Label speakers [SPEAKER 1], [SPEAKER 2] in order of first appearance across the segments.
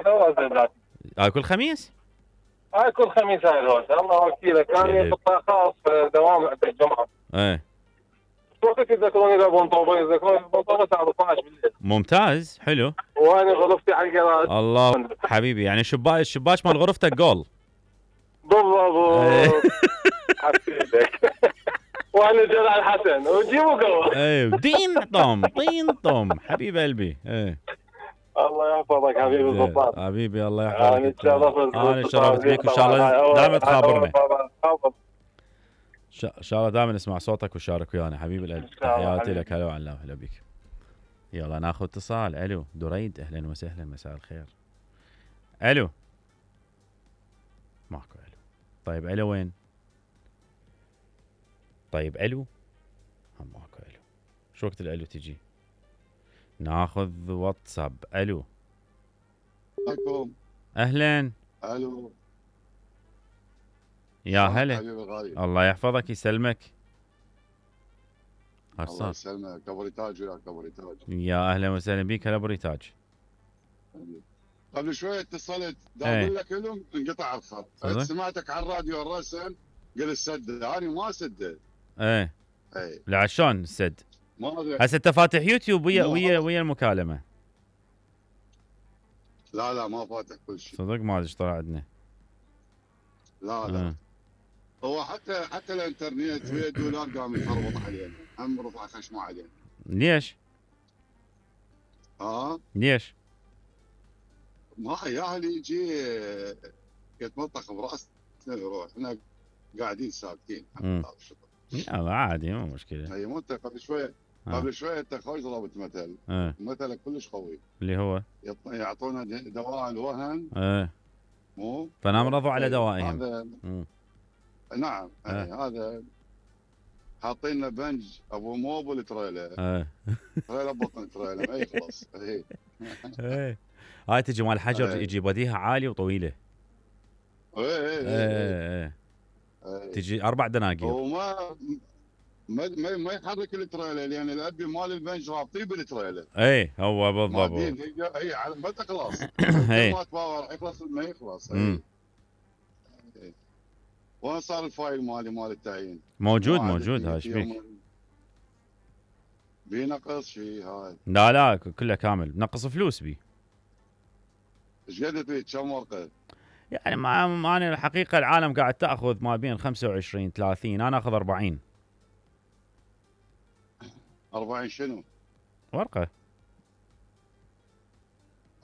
[SPEAKER 1] هوايه ذاتي.
[SPEAKER 2] كل خميس؟
[SPEAKER 1] هاي كل خميس هاي الهوسه. الله وكيلك كان قطاع خاص دوام عند الجمعه.
[SPEAKER 2] ايه
[SPEAKER 1] وقت يذكروني بونطوبه، يذكروني بونطوبه الساعه 12 بالليل.
[SPEAKER 2] ممتاز حلو.
[SPEAKER 1] وانا غرفتي على الجراج.
[SPEAKER 2] الله حبيبي، يعني الشباك مال غرفتك جول.
[SPEAKER 1] بالضبط. حبيبك. وانا جلال الحسن وجيبوا قهوه.
[SPEAKER 2] ايه طين طم حبيب قلبي. ايه
[SPEAKER 1] الله يحفظك حبيبي الضباط.
[SPEAKER 2] حبيبي الله يحفظك.
[SPEAKER 1] انا
[SPEAKER 2] تشرفت بيك وان شاء الله دائما تخابرنا. ان شاء الله دائما نسمع صوتك وشارك ويانا حبيب القلب. تحياتي لك. هلا وعلا هلا بك. يلا ناخذ اتصال. الو دريد، اهلا وسهلا، مساء الخير. الو ماكو الو. طيب الو وين؟ طيب الو هم ماكو الو. شو وقت الالو تجي؟ ناخذ واتساب. الو
[SPEAKER 3] عليكم.
[SPEAKER 2] اهلا.
[SPEAKER 3] الو
[SPEAKER 2] يا هلا.
[SPEAKER 3] حبيبي الغالي.
[SPEAKER 2] الله يحفظك يسلمك.
[SPEAKER 3] الله يسلمك. ابو ريتاج وياك ابو ريتاج.
[SPEAKER 2] يا اهلا وسهلا بك. هلا ابو ريتاج.
[SPEAKER 3] قبل شوي اتصلت اقول لك لهم انقطع الخط. سمعتك على الراديو الرسم قلت سدد. انا ما سدد.
[SPEAKER 2] ايه لا شلون السد؟ هسه انت فاتح يوتيوب ويا المكالمه؟
[SPEAKER 3] لا ما فاتح كل شيء.
[SPEAKER 2] صدق ما ادري ايش طلع عندنا.
[SPEAKER 3] لا هو حتى الانترنت ويا الدولار قام يخربط علينا. هم رفع خشمه علينا.
[SPEAKER 2] ليش؟ ليش؟
[SPEAKER 3] ما ياهل يجي يتمطخ براسنا يروح. احنا قاعدين ساكتين.
[SPEAKER 2] لا عادي مو مشكله.
[SPEAKER 3] اي مو انت قبل شويه انت خوش ضربت مثل. مثلك كلش قوي
[SPEAKER 2] اللي هو
[SPEAKER 3] يعطونا دواء الوهن. مو
[SPEAKER 2] فنام رضوا على دوائهم.
[SPEAKER 3] نعم هذا حاطين لنا بنج ابو موبل تريلا. تريلا بطن تريلا ما يخلص.
[SPEAKER 2] هاي تجي مال الحجر يجي بديها عالي وطويله. تجي 4 دناقير.
[SPEAKER 3] وما ما يحرك التريلا لان الابي مال البنج رابطين بالتريلا.
[SPEAKER 2] هو بالضبط.
[SPEAKER 3] اي على ما تخلص. ما تباور يخلص ما يخلص. وين صار الفايل مال التعيين؟
[SPEAKER 2] موجود هاي ايش بيك؟
[SPEAKER 3] بينقص شيء هاي؟
[SPEAKER 2] لا كله كامل. نقص فلوس بي.
[SPEAKER 3] ايش قد فيه؟ كم ورقه؟
[SPEAKER 2] يعني ما انا الحقيقه العالم قاعد تاخذ ما بين 25 30. انا اخذ 40.
[SPEAKER 3] 40 شنو؟
[SPEAKER 2] ورقه.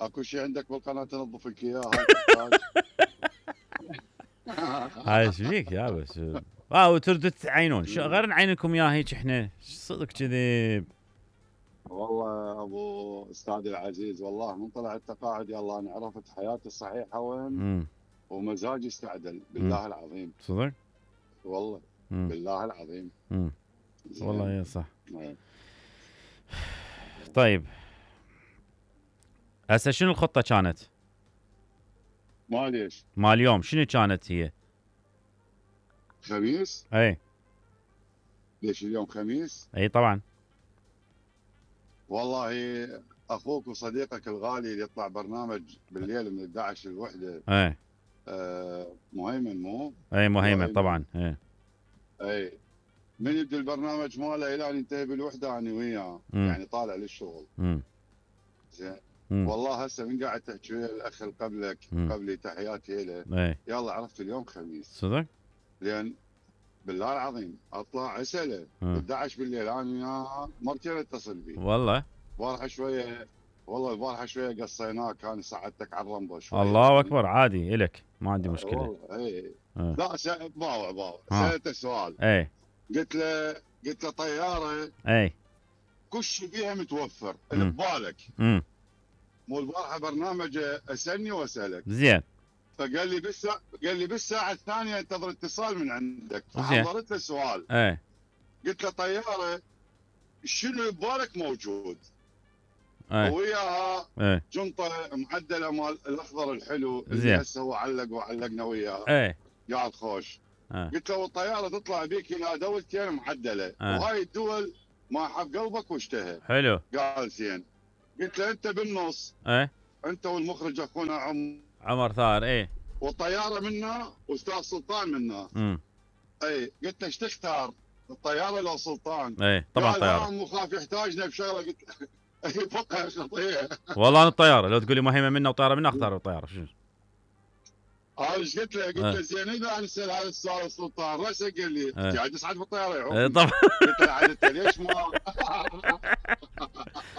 [SPEAKER 3] اكو شيء عندك بالقناه تنظف لك اياها؟
[SPEAKER 2] هاي ايش فيك يا بس؟ وتردوا تعينون غير نعينكم اياها هيك احنا صدق كذب.
[SPEAKER 3] والله ابو استاذ العزيز والله من طلع التقاعد يا الله انا عرفت حياتي الصحيحه وين ومزاجي استعدل بالله العظيم.
[SPEAKER 2] صدق؟
[SPEAKER 3] والله بالله العظيم.
[SPEAKER 2] والله يا صح. طيب هسه شنو الخطه كانت؟
[SPEAKER 3] ما ليش؟
[SPEAKER 2] ما اليوم شنو كانت هي؟
[SPEAKER 3] خميس؟ ليش اليوم خميس؟
[SPEAKER 2] طبعا.
[SPEAKER 3] والله اخوك وصديقك الغالي اللي يطلع برنامج بالليل من 11 للوحده. مهيمن مو؟
[SPEAKER 2] مهيمن طبعا.
[SPEAKER 3] من يبدا البرنامج ماله الى ان ينتهي بالوحده انا وياه يعني طالع للشغل. زين. والله هسه من قاعد تحكي ويا الاخ اللي قبلي تحياتي له. يلا عرفت اليوم خميس.
[SPEAKER 2] صدق؟
[SPEAKER 3] لان بالله العظيم اطلع اساله 11 بالليل انا وياه مرتين اتصل بي.
[SPEAKER 2] والله
[SPEAKER 3] البارحه شويه قصيناه كان ساعدتك على الرمبو شويه.
[SPEAKER 2] الله اكبر عادي الك ما عندي مشكله.
[SPEAKER 3] لا باوع سالته سؤال. قلت له طياره كل شيء بيها متوفر اللي ببالك. مو البارحه برنامج اسالني واسالك.
[SPEAKER 2] زين.
[SPEAKER 3] فقال لي بالساعه الثانيه انتظر اتصال من عندك. فحضرت له سؤال. قلت له طياره شنو ببالك موجود؟ وياها جنطه معدله مال الاخضر الحلو اللي هسه هو علق وعلقنا وياه. قاعد خوش. قلت له الطياره تطلع بيك الى دولتين معدله وهاي الدول ما حب قلبك واشتهى.
[SPEAKER 2] حلو.
[SPEAKER 3] قال زين. قلت له انت بالنص انت والمخرج اخونا
[SPEAKER 2] عمر ثار. ايه
[SPEAKER 3] والطياره منا واستاذ سلطان منا. اي قلت له ايش تختار الطياره لو سلطان؟
[SPEAKER 2] ايه طبعا الطياره.
[SPEAKER 3] قال مخاف يحتاجنا بشغله. قلت له فقه خطير
[SPEAKER 2] والله انا الطياره لو تقول لي مهمه منا وطياره منا اختار الطياره. شنو
[SPEAKER 3] ايش قلت له؟ قلت له زين اذا اسال هذا السؤال سلطان راسه قال لي قاعد تصعد بالطياره يا عمر.
[SPEAKER 2] طبعا.
[SPEAKER 3] قلت له عاد انت ليش ما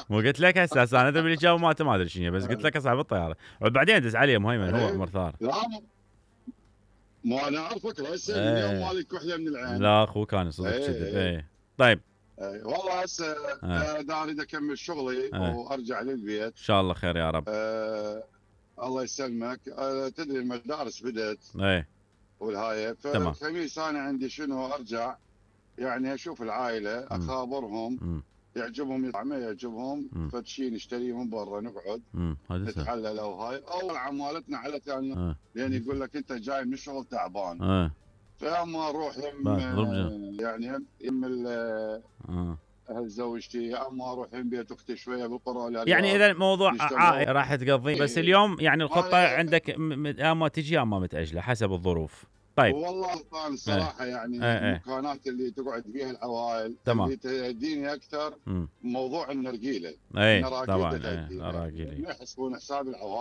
[SPEAKER 2] مو قلت لك هسه انا ادري الاجابه ما ادري شنو، بس قلت لك اصعد بالطياره وبعدين دز علي مهيمن هو عمر ثار.
[SPEAKER 3] لا مو انا اعرفك هسه اليوم مالك وحده من العين.
[SPEAKER 2] لا اخوه كان صدق كذب. طيب
[SPEAKER 3] والله هسه دا اريد اكمل شغلي وارجع للبيت ان
[SPEAKER 2] شاء الله خير يا رب.
[SPEAKER 3] الله يسلمك. تدري المدارس بدات والهاي فالخميس انا عندي شنو ارجع يعني اشوف العائله اخابرهم يعجبهم يطلع ما يعجبهم فشي نشتريه من برا نقعد نتحلل او هاي او عمالتنا على ثاني لان يقول لك انت جاي من الشغل تعبان فاما اروح يعني يم اهل زوجتي يا اما اروح من بيت اختي شويه بالقران
[SPEAKER 2] يعني اذا الموضوع عائلي راح تقضي بس اليوم يعني الخطه عندك اما تجي اما متاجله حسب الظروف. طيب
[SPEAKER 3] والله طبعا الصراحه يعني المكانات اللي تقعد فيها العوائل اللي تهديني اكثر موضوع النرجيله.
[SPEAKER 2] طبعا النراجيل
[SPEAKER 3] ما يحسبون حساب العوائل.